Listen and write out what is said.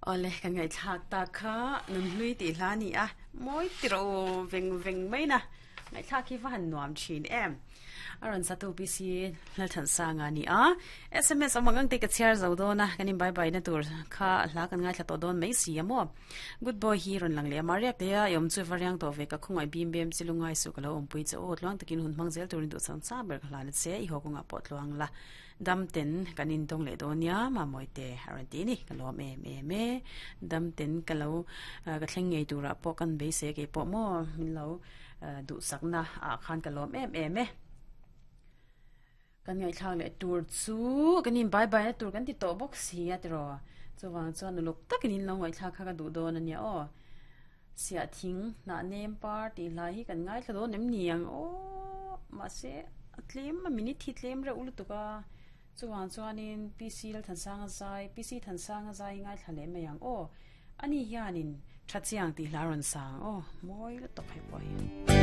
Awle, kan ngaihthlak tak kha nunhlui tih hla a ni a, mawi tiro veng veng mai na, ngaihthlak hi va han nuam thin em. A rawn satu PC Lalthansanga a ni a, sms awm ang ang te ka chhiar zo dawn a, kan in bye bye na tur kha hla kan ngaithla tawh dawn mai si a maw. Good boy hi rawn lang leh a, Mariak te a i awm chu va riang tawh ve ka khawngaih bim bem chi lungai suh ka lo awmpui che aw, tluang takin hun hmang zel turin duh chang chang ber ka hlan a che, i haw kawngah pawh tluang la. Dam ten kan intawng leh dawn nia Mamawi te a rawn ti a ni, ka lawm em em e. Dam ten ka lo ka thleng ngei turah pawh kan beisei kei pawh maw min lo duhsakna ah khan ka lawm em em e. Kan ngaihthlak leh tur chu kan in bye bye na tur kan ti tawh bawk si a tiraw. Chuvang chuan uluk takin in lo ngaihthlak kha ka duh dawn a nia aw. Siah thing hnah nem par tih hlai hi kan ngaithla dawn em ni ang aw mahse a tlem a minute hi tlem reuh lutuk a chuvang chuanin PC Lalthansanga zai PC Thansanga zai hi ngaithla leh mai ang aw ani hianin tha chiang tih hla a rawn sang aw mawi lutuk hei pawh hi.